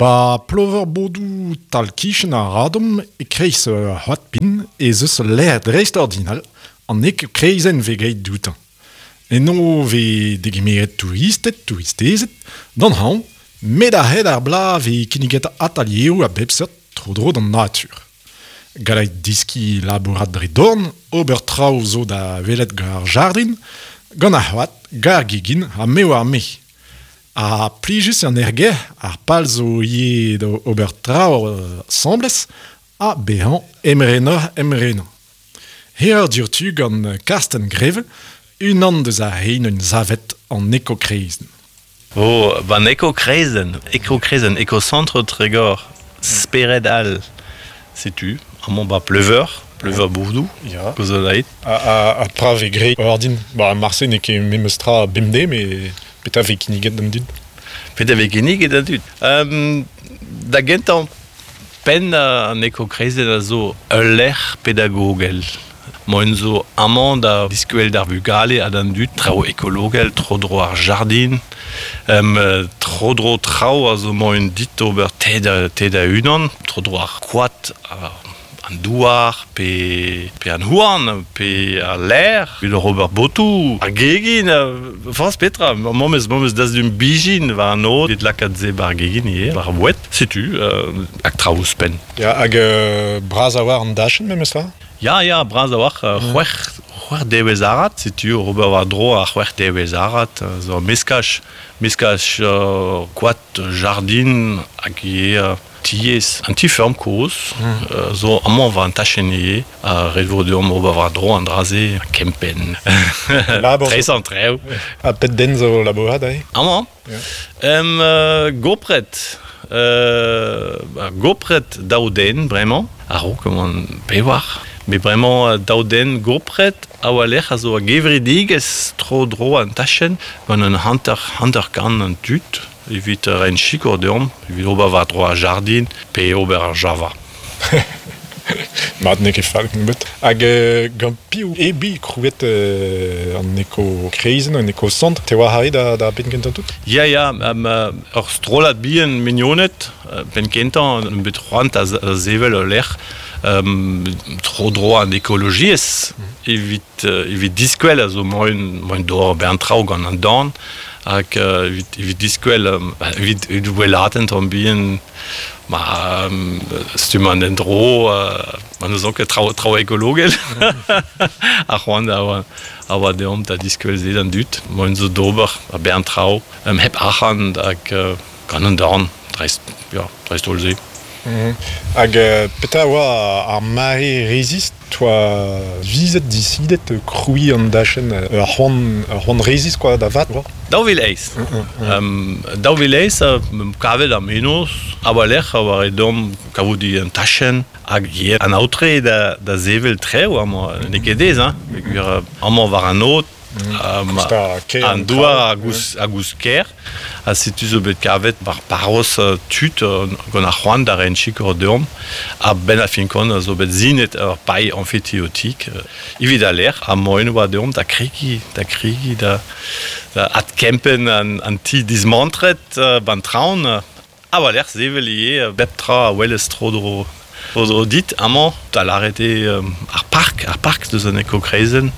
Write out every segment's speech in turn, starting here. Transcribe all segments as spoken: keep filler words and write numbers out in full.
Ba Plover-Bodou tal-kichen ar Radom e kreiz ur c'hoad-pin ez eus ul lec'h dreistordinal an eko-kreizenn vez graet dioutañ. Eno vez degemeret touristed, touristezed, d'an hañv, met a-hed ar bloaz vez kinniget atalieroù a bep seurt tro-dro d'an natur. Gallet deskiñ labourat dre dorn, ober traoù zo da welet gant ar jardrin, gant ar c'hoad, gant ar gegin ha me oar me. Ha plijus an aergelc'h, ar pal zo ivez da ober traoù asambles ha bezañ emrenoc'h emrenañ. Herr diouzhtu gant Karsten Greve, unan deus ar re 'neuint savet an eko-kreizenn. Oh, ban eko-kreizenn, eko-kreizenn, eko-centre Trégor, Spered all. Setu, amañ ba Pleuveur, Pleuveur-Bodoù, Ya. Kozolaet. Ha, ha, ha pra vez graet ordin. Ba marse n'eo ket memes tra bemdez, met petra vez kinniget d'an dud? Petra vez kinniget d'an dud. Um, da gentañ penn an eko-kreizenn a zo ul lec'h pedagogel. Moen zo amañ da diskwel d'ar vugale ha d'an dud traoù ekologel, tro-dro ar jardin, um, tro-dro traoù a zo moen dit ober te da, te da unan, tro-dro ar koad, ar, an douar, pe, pe an houarn, pe ar ler, evit ober botoù, ar gegin, forzh petra, momez, momez dastum bijin war an aod, evit lakaat se bar gegin ivez, war ar boued, setu, euh, hag traoù ouzhpenn. Ya, hag euh, bras a war an dachenn memes tra? Ya, ya, bras a-walc'h, euh, c'hwec'h, c'hwec'h devezh arat, setu ober war-dro ar c'hwec'h devezh arat, zo meskaj, meskaj euh, koad, jardin, hag ivez euh, tiez, an ti-feurm kozh, mm. euh, zo amañ war an tachenn ivez, ha ret vo deomp ober war-dro an dra-se, kempenn. Labour. Tres an trev. Ha pet den zo labourat aze? Amañ? Ya. Em, euh, gopret, euh, ba, gopret daou den bremañ, a-raok oant pevar. Met bremañ daou den gopret a oa lec'h a zo a gevredigezh tro-dro an tachenn gant un hanter, hanter kant an tud evit reiñ sikour deomp, evit ober war-dro ar jardin pe ober ar java. Mat n'eo ket fall nebeut. Hag euh, gant piv eo bet krouet euh, an eko-kreizenn, an eko-centre, te oa arri da, da benn kentañ tout? Ya, ya, um, ur strollad bihan mignoned, penn kentañ, an bet c'hoant a, a sevel ul lec'h um, tro-dro an ekologiezh evit, uh, evit diskwel a zo moen, moen d'ober bern traoù gant an dorn hag uh, evit, evit diskwel, um, evit, evit wellaat an bihan ma um, stumm an endro, uh, ma n'eus ket traoù, traoù ekologel. Ar c'hoant a oa, a oa deomp da diskwel se d'an dud. Moen zo d'ober a bern traoù, um, hep arc'hant hag uh, gant an dorn, dreist, ya, dreist-holl se. Mm. Hag euh, petra oa ar mare rezist, toa vizet disidet krouiñ an dachenn ur c'hoant, ur c'hoant rezist quoi, da vat, oa? Daou vil eizh. Um, daou vil eizh, uh, kavet ar menoz, a oa lec'h a oa deomp kavout an tachenn hag ivez an aotre da, da sevel trev amañ, n'eo ket aes, hein, peogwir amañ war an aod, um, Kousta ker an an douar traoù, a goust, a goust ker, ha setu zo bet kavet war parroz uh, tud uh, gant ar c'hoant da reiñ sikour deomp, ha benn ar fin kont a zo bet sinet ur pailh amfithéotique uh, evit al lec'h, ha moen oa deomp da kregiñ, da kregiñ, da, da adkempenn an, an ti dismantret uh, ban traon, uh, ha war lec'h sevel ivez uh, bep tra a welez tro-dro tro-dro dit, amañ, da lâret eo um, ar park, ar park deus an eko-kreizenn,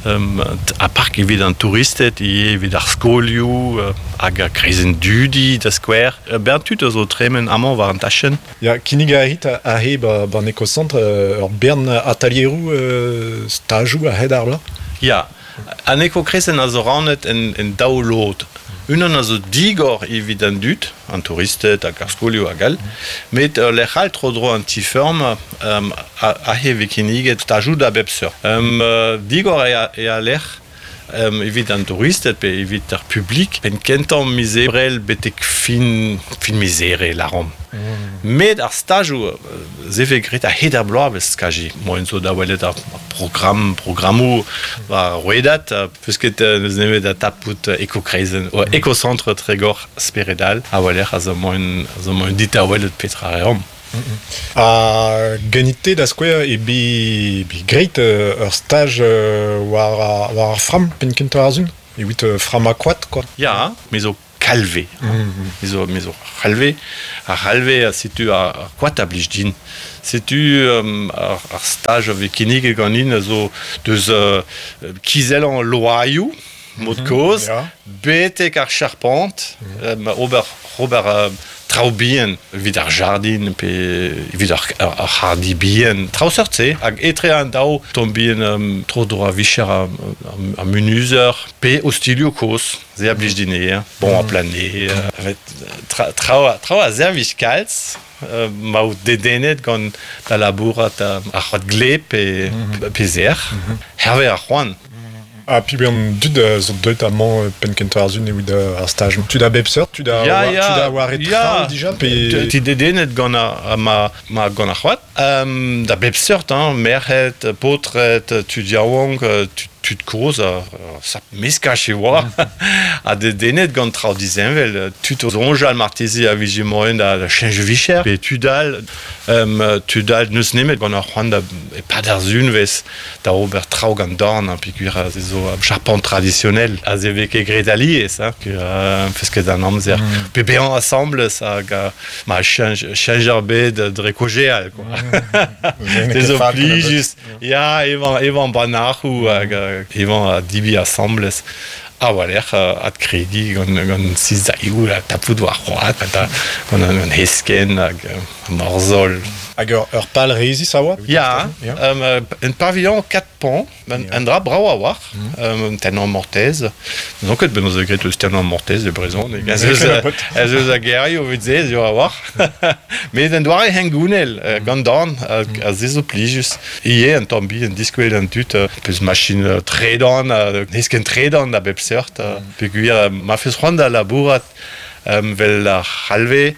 um, ar park evit an touristed, ivez evit ar skolioù, uh, hag ar kreizenn dudi da skouer. Uh, bern tud a zo tremen amañ war an tachenn. Ya, kinnig a rit aze ba, ban eko-centre euh, ur bern atalieroù euh, stajoù a-hed ar bloaz? Ya, an eko-kreizenn a zo rannet en, en daou lod. Unan a zo digor evit an dud, an touristed hag ar skolioù hag all, met uh, lec'h all tro-dro an ti-feurm um, aze vez kinniget stajoù da bep seurt. Um, uh, digor eo eo al lec'h um, evit an touristed pe evit ar publik, penn kentañ miz ebrel betek fin, fin miz here lâromp. Met ar stajoù, se vez graet a-hed ar bloavezh kazi. Moen zo da welet ar programm, programmoù war rouedad, peus ket n'eus nemet da tapout eko-kreizenn, mm. eko-centre Trégor Spered All, a weler a zo moen, a zo moen dit da welet petra reomp. Ha ganit-te da skouer e be, be graet ur staj war, war ar framm penn kentañ ar sun? Evit uh, frammañ koad, quoi. Ya, me zo kalve. Me zo, me zo c'halve. Ar c'halve, setu ar, ar koad a blij din. Setu um, ar, ar staj a vez kinniget ganin a zo deus uh, kizellañ loaioù, mod kozh, ya. betek ar charpent, mm. ober, ober uh, traoù bihan evit ar jardin pe evit ar, ar, ar c'hardi bihan, traoù seurt-se. Hag etre an daou tamm bihan um, tro dro a vicher ar, ar, ar munuzer pe ostilioù kozh, se a blij din eo, hein. Bon a planer, euh, tra, traoù, traoù a servij kalz, euh, ma out dedennet gant da labourat a, ar c'hoad gleb pe, pe zer, hervez ar c'hoant. Ha pi an dud a zo deuet amañ euh, penn kentañ ar sun evit euh, ar staj. Tud a bep seurt, tud a Ya, war, ya, tud a war e ya. traoù dija pe... Ti dedennet gant ar, ar ma, ma gant ar c'hoad. Um, da bep seurt, hein, merc'hed, paotred, tud yaouank, tud, tud kozh, ar, ar sap meskaj e oa. Ha dedennet gant traoù disheñvel, tud o soñjal marteze a vije moaien da, da cheñch vicher, pe tud all, um, tud all n'eus nemet gant ar c'hoant da e-pad ar sunvez da ober traoù gant dorn, hein, peogwir a se zo um, charpent traditionnel, a se vez ket graet alies, hein, que, euh, feus ket an amzer. Mm. Pe bezañ asambles hag uh, ma cheñch, cheñch ar bed dre kojeal, quoi. Se zo plijus. Ya, evañ, evañ banac'hoù hag euh, evañ a dibi asambles. A war-lerc'h adkrediñ gant, gant sizailhoù ha tapout war c'hoad, gant, gant an, an heskenn hag euh, morzhol. Hag ur, ur pal rezis a oa? Ya, Ya. um, un pavillon quatre pans, un, un dra brav a-walc'h, um, tennañ mortez. N'on ket ben eus graet eus tennañ mortez e brezhoneg. Ez eus, ez eus a gerioù evit se, zo a-walc'h. Met un doare hengounel, uh, gant dorn, a, a se zo plijus. Ie, un tamm bihan diskwel an dud, uh, peus machin uh, tredan, uh, heskenn tredan da bep seurt. Uh, peogwir, uh, ma feus c'hoant da labourat um, vel ar c'halve,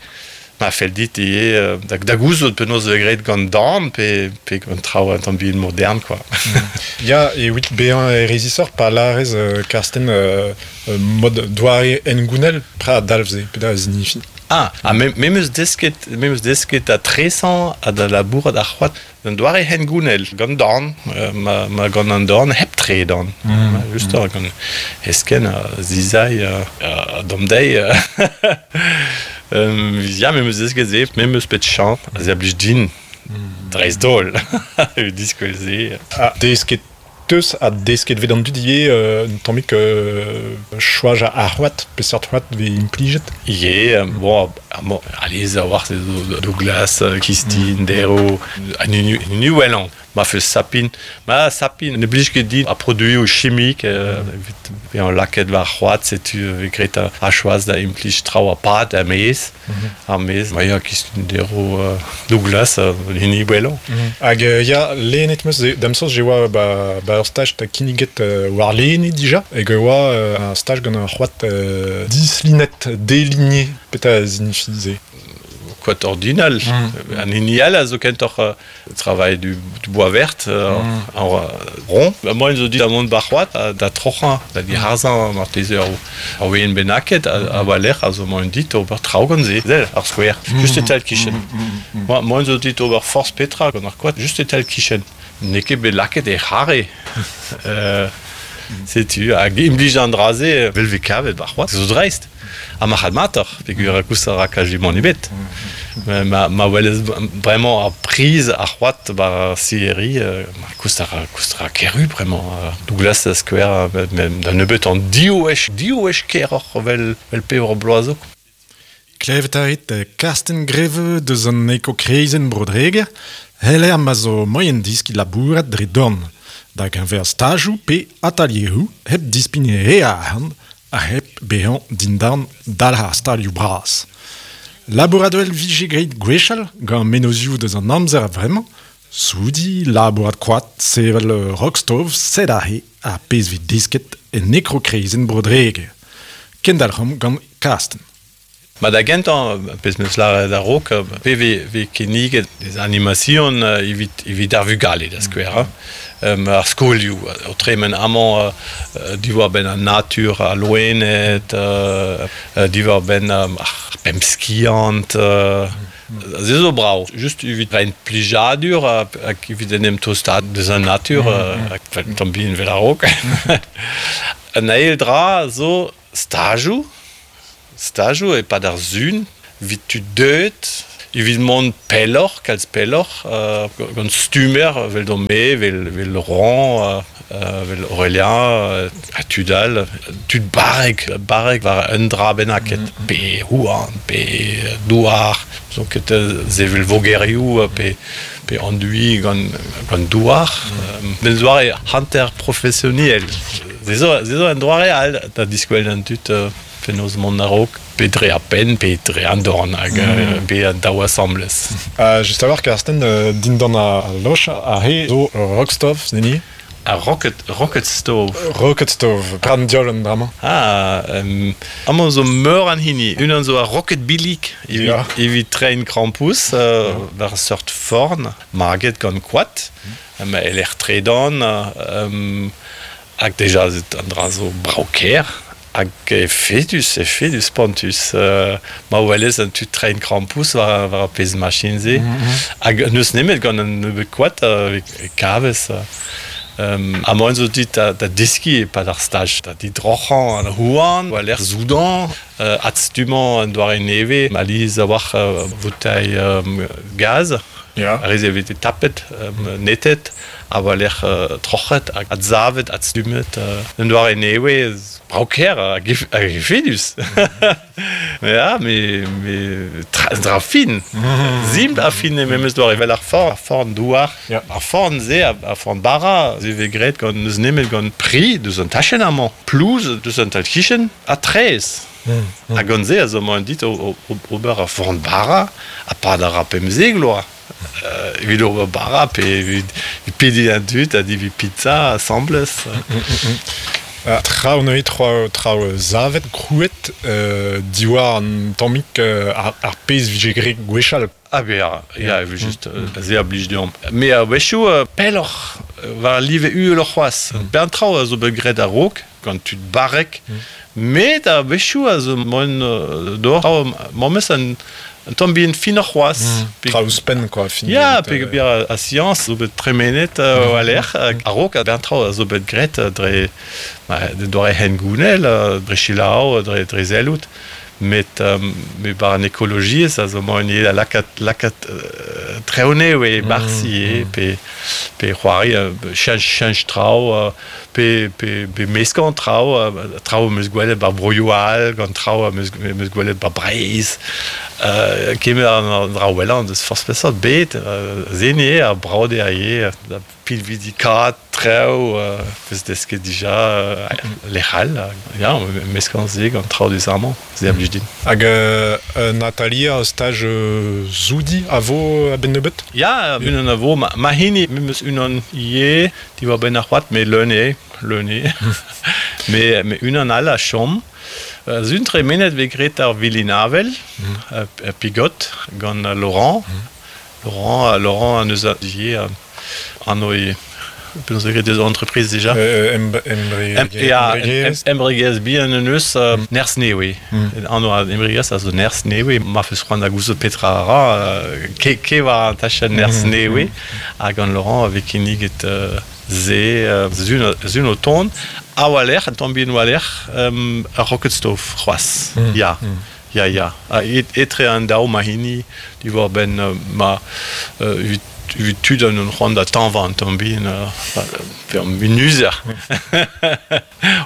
ma fell dit ivez euh, da, da gouzout penaos e graet gant dorn pe, pe gant traoù un tamm bihan modern, quoi. Ya, evit bezañ e rezisor pa lârez euh, Karsten euh, euh, mod doare hengounel, pra a dalv-se, pe da zinifi. Ah, ha me, me 'meus desket, me 'meus desket a tresañ ha da labourat ar c'hoad un doare hengounel, gant dorn, euh, ma, ma gant an dorn hep tredan. Mm. Just mm. gant heskenn a zizailh a, a domdeiz. euh, um, ya, me 'meus desket se, me 'meus pet chañs, a se a blij din, dreist-holl, evit diskwel se. Ah, desket teus ha desket vet an dud ivez euh, un tammig euh, choaz ar c'hoad, peseurt c'hoad vez implijet. Ivez, euh, bon, ah, bon, alies a-walc'h se zo Douglas, euh, Kistin, Dero, an unu, an unu wellañ. Ma feus sapin, ma sapin ne blij ket din a produioù chimik, euh, evit bezañ lakaet war c'hoad, setu vez graet a, a choaz da implij traoù a pad ar maez, ar maez, ma ya Kistin, Dero, euh, Douglas, euh, an hini wellañ. Hag euh, ya, lennet 'meus, da'm soñj e oa ba, ba ur staj da kinniget euh, war lene dija, hag e oa euh, un staj gant ur c'hoad euh, dislinet, déligné, petra a zinifi se. Koad ordinal. Mm. An hini all a zo kentoc'h euh, travail du, du bois vert, euh, mm. en euh, rond. Ba, moaien zo dit da mont bar c'hoad, da, da troc'hañ, da diharzañ marteze ur, ur wezenn bennaket, a, a war-lerc'h a zo moaien dit ober traoù gant se. Sell, ar skouer, mm. Just e-tal kichen. Mm. Mm. Moaien zo dit ober forzh petra gant ar koad, just e-tal kichen. N'eo ket bet lakaet e c'harre. euh, Setu, hag implij an dra-se, vel vez kavet bar c'hoad, zo dreist. Ha marc'had matoc'h, peogwir a koust a ra kazimant ebet. Ma, ma, ma welez bremañ ar priz ar c'hoad bar scierie, euh, ma koust a ra, koust a ra keru bremañ. Euh, Douglas da skouer, euh, mem da nebeut an div wech, div wech keroc'h vel, vel pevar bloaz zo. Klevet a rit Karsten Greve deus an eko-kreizenn Bro-Dreger, heller ma zo moaien diskiñ labourat dre dorn, da geñver stajoù pe atelieroù hep dispign re a arc'hant ha hep bezañ dindan dalc'h ar stalioù bras. Labourat evel vije graet gwechall gant mennozhioù deus an amzer a-vremañ, soudiñ, labourat koad, sevel rock-stove, sed aze ar pezh vez desket en eko-kreizenn Bro-Dreger. Kendalc'homp gant Karsten. Ma da gentañ, pezh 'meus lâret a-raok, pe vez, vez kinniget des animations evit, evit ar vugale da skouer. Hein. Um, ar skolioù, o tremen amañ uh, diwar-benn an natur, al loened, uh, diwar-benn um, ar pemp skiant, uh, se zo brav. Just evit reiñ plijadur hag evit en em tostaat deus an natur, hag mm. tamm bihan vel a-raok. An eil dra zo stajoù, Stajoù e-pad ar sun, evit tud deuet, evit mont pelloc'h, kalz pelloc'h, euh, gant stummer, vel don me, vel, vel Laurent, euh, vel Aurélien, euh, ha tud all, tud barrek, barrek war un dra bennaket, mm -hmm. pe houarn, pe douar, donc ket zevel vogerioù, pe, pe anduiñ gant, gant douar, mm. euh, doare hanter professionnel. Se zo, se zo un doare all da diskwel an tud euh, penaos mont a-raok, pe dre ar penn, pe dre an dorn hag mm. pe an daou asambles. Uh, just a-walc'h, Karsten, uh, dindan a loch, a he zo rockstove, zeni? A rocket, rocket stove. Rocket stove, pran diol an drama. Ah, um, amañ zo meur an hini. Unan zo a rocket billig evit, yeah. evit trein krampouezh, uh, yeah. war seurt forn, maget gant koad, mm. um, eler tredan, um, hag deja an dra zo brav-kaer. Hag efedus, efedus spontus. Uh, ma welez an tud trein krampouezh war, war ar pezh machin-se. Mm -hmm. Hag n'eus nemet gant an nebeud koad uh, e kavez. Um, ha moaien zo dit da, da deskiñ e-pad ar staj, da didroc'hañ an houarn, war lec'h soudañ, uh, adstummañ an doare nevez, alies a-walc'h uh, voutailh um, gaz, yeah. Ar re-se veze tapet, um, netet, ha war lec'h uh, troc'het, hag adsavet, adstummet. Uh, un doare nevez, brav-kaer hag efedus. Ja, me, me tra, dra fin. Simpl ha fin e memes doare vel ar forn, ar forn douar. Yeah. Ar forn-se, ar forn bara, se vez graet gant n'eus nemet gant pri deus an tachenn amañ, plouz deus an tal-kichen, ha traezh. Mm, mm. Hag gant se a zo moaien dit o, o, ober ar forn bara, ha pad ar ra pemzek loa. Euh, evit ober bara, pe evit pediñ an dud ha debriñ pizza asambles. Mm, mm, mm. Uh, traoù neuze, traoù, traoù savet, krouet, euh, diwar an tammig euh, ar, ar pezh vije graet gwechall. Ah ben, ya, ya, evel just, mm. se a blij deomp. Me a-wechoù uh, pelloc'h, war live uheloc'h c'hoazh. Mm. Bern traoù a zo bet graet a-raok, gant tud barrek, mm. met a-wechoù a zo moaien uh, d'ober memes an un tamm bihan finoc'h c'hoazh. Mm. Traoù ouzhpenn, quoi. Fin ya, pe euh... a siañs zo bet tremenet uh, war-lerc'h, mm. a-raok a bern traoù a zo bet graet dre, ba, doare hengounel, dre selaou, dre, dre sellout. Met, um, met war an ekologiezh a zo moaien ivez da lakaat, lakaat uh, traoù nevez e-barzh ivez, mm. pe, pe c'hoari, uh, cheñch, cheñch traoù, uh, pe, pe, pe meskañ traoù, uh, traoù am eus gwelet bar broioù all, gant traoù am eus, am eus gwelet bar Breizh. Uh, kemer an dra wellañ deus forzh peseurt bet, uh, se eo ar brav dezhañ ivez, da pilvidikaat traoù, uh, peus desket dija uh, lec'h all, ya, meskañ se gant traoù deus amañ, se a blij din. Hag euh, Nathalie, ur staj euh, zoudi a vo a-benn nebeut? Ya, unan a vo, ma, ma hini, memes unan ivez, diwar-benn ar c'hoad, met leun eo, leun eo. Me, me unan all a chom. Uh, Sun tremenet vez graet ar Vilinavel, mm. uh, Pigot, gant uh, Laurent. Mm. Laurent, uh, Laurent an eus a ivez, uh, an oe penaos vez graet deus entreprise déjà. Euh, embregerezh. Ya, embregerezh bihan an eus uh, nerzh nevez. Mm. Anv an embregerezh a zo nerzh nevez. Ma feus c'hoant da gouzout petra a ra, uh, ke, ke war an tachenn nerzh mm. nevez. Hag gant Laurent a vez kinniget uh, se, uh, zun, zun o tont. A war-lerc'h, an tamm bihan war-lerc'h, um, ur rocket stove c'hoazh. Mm. Ya. Mm. Ya, ya. Ha, et, etre an daou ma hini, diwar-benn uh, ma uh, evit evit tud an c'hoant da tañvañ an tamm bihan, uh, pe an munuzer.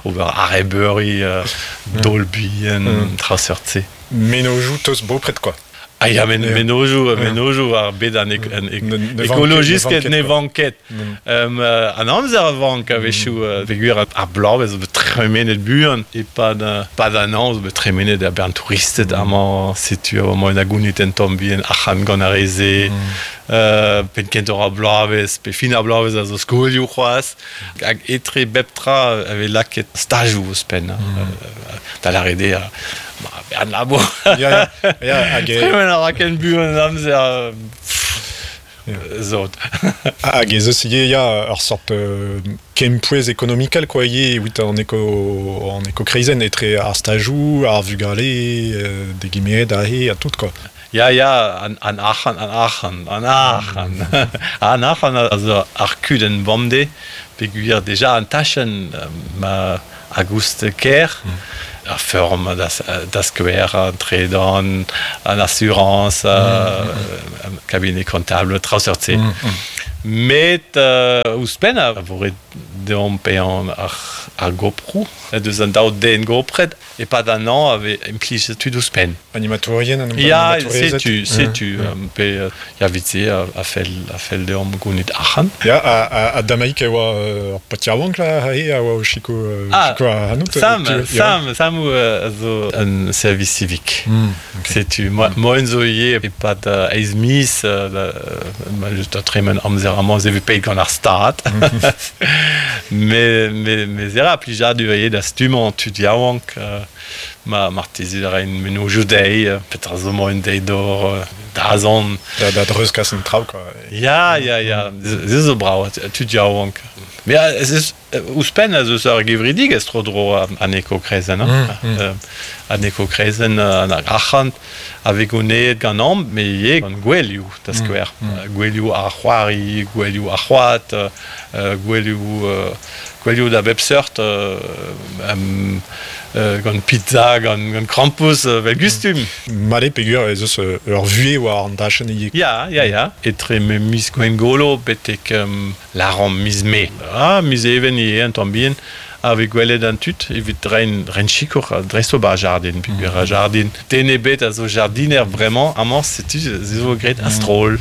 Ober arrebeuri, uh, daol bihan, Mm. tra seurt-se. Mennozhioù tost bopred, quoi. Ah ya, men, Ya. mennozhioù, mennozhioù war bed an, ek, an ek, Ne- ne vank- ekologist ne ket vank ne ket, vank ket. Mm. Um, uh, an amzer a vank a-wechoù, uh, peogwir ar bloavezh zo bet tremenet buan, e-pad, uh, pad an an zo bet tremenet a bern touristed amañ, setu amañ en agounit en tamm bihan arc'hant gant ar re-se, uh, penn kentoc'h ar bloavezh, pe fin ar bloavezh a zo skolioù c'hoazh, hag etre bep tra a vez lakaet stajoù ouzhpenn, mm. uh, da lâret eo, ma, bern labour. Ya, ya, ya, hag e, Tremen a ra ken buan an amzer, euh, pff, zot. hag ez eus ivez, ya, ur sort euh, kempouez ekonomikel, quoi, ivez, evit an eko, an ekokreizenn, etre ar stajoù, ar vugale, euh, degemeret aze, ha tout, quoi. Ya, ya, an, an arc'hant, an arc'hant, an arc'hant. An arc'hant a zo ar kudenn bemdez, peogwir deja an tachenn ma a goust ker, mm. Ar feurm da, da skouer, an tredan, an assurance, mm. mm. cabinet comptable, traoù seurt-se. Mm. Mm. Met euh, ouzhpenn a vo ret deomp paeañ ar, ar goproù, deus an daou den gopret, e-pad an an a vez implijet tud ouzhpenn. Animatourien, an Ya, setu, setu, mm. pe ya vit-se a, a fell, a fell deomp gounit arc'hant. Ya, a, a, a Damaik e oa ur paotr yaouank la, a oa o chiko, ah, chiko a hanout. Sam, Sam, Sam a zo un service civique. Mm, okay. Setu, mm. moen zo ivez e-pad eizh miz, ma just a tremen amzer amañ ze vez paeet gant ar stad. Me, me, me zera plijadur ivez da stummañ tud yaouank, euh, ma marteze da rein mennozhioù dezhe, petra zo moaien dezhe d'ober dazont. Da, da dreuzkas an traoù, quoi. Ya, ya, ya, se zo brav, tud yaouank. Mais ez eus ouzhpenn a zeus ur gevredigezh tro-dro an ekokreizenn, mm, mm. Euh, an ekokreizenn an arc'hant a vez goneet ganeomp, met ivez gant gouelioù, da skouer. Mm, mm. Gouelioù ar c'hoari, gouelioù ar c'hoad, euh, gouelioù, euh, gouelioù da bep seurt, euh, um, euh, gant pizza, gant, gant krampouezh, euh, vel gustum. Mat eo peogwir ez eus ur vuhez war an dachenn ivez. Ya, ya, ya. Etre miz Gwengolo betek um, lâromp miz Mae. Ah, miz Even ivez un tamm bihan, a vez gwelet an tud evit reiñ reiñ sikour dreist-holl ba ar jardin, peogwir ar jardin. Den ebet a zo jardiner bremañ, amañ setu se zo graet a-stroll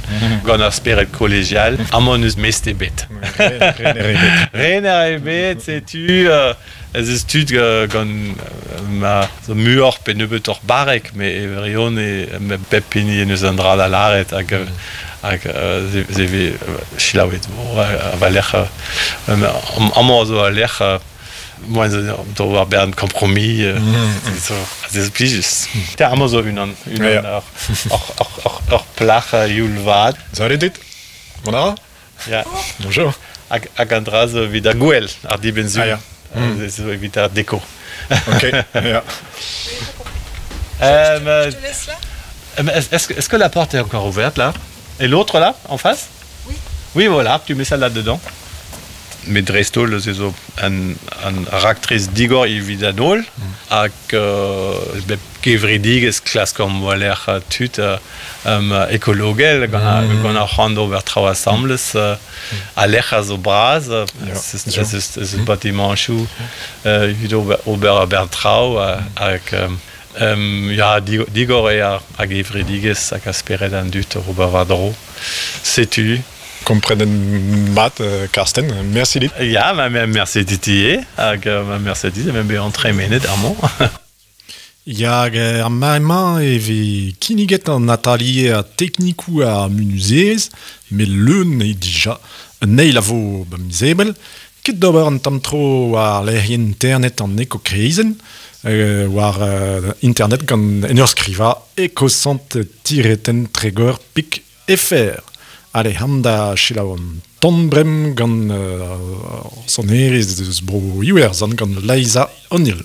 gant ar spered kolegial. Amañ n'eus mestr ebet. Rener ebet. Rener ebet, setu euh, ez eus tud euh, gant euh, ma zo muioc'h pe nebeutoc'h barrek, met e wirion e me pep hini en eus an dra da lâret hag hag euh, se vez selaouet a war-lerc'h amañ zo a-lerc'h moaien zo d'ober bern kompromis zo se zo plijus. Te amañ zo unan unan ur ur ur ur plac'h youl vat. Salut dit. Mont a ra? Ya. Bonjour. Hag hag an dra zo evit ar gouel, ar dibenn-sul. Ah, ya. Mm. Zo evit ar deko. Ok, ya. Euh, Je te laisse là? Est-ce, est-ce que la porte est encore ouverte là? Et l'autre là, en face? Oui. Oui, voilà, tu mets ça là-dedans. Met dreist-holl se zo an, an raktres digor evit an holl, hag euh, bep kevredigezh klaskomp war-lerc'h tud euh, um, ekologel gant ar, Mm. gant ar c'hoant d'ober traoù asambles, euh, a lec'h a zo bras, euh, Ya, ez zo. eus ez eus batimanchoù euh, evit ober, ober a bern traoù hag um, um, ya, digor eo ar, ar gevredigezh hag a spered an dud ober war-dro. Setu. Komprenet mat, euh, Karsten, merci dit. Ya, ma, ma, merci dit ivez, hag ma merci dit, ma bezañ tremenet amañ. Ya, hag ar mare-mañ e vez kinniget an atalier teknikoù ar munuzerezh, met leun eo dija. Un eil a vo ba miz Ebrel, ket d'ober an tamm tro war lec'hienn internet an ekokreizenn, euh, war euh, internet gant en ur skrivañ ecocent-tiret tregor pik fr. Allez, ham da selaou an ton brem gant euh, sonerezh deus bro Iwerzhon gant Liza O'Neill.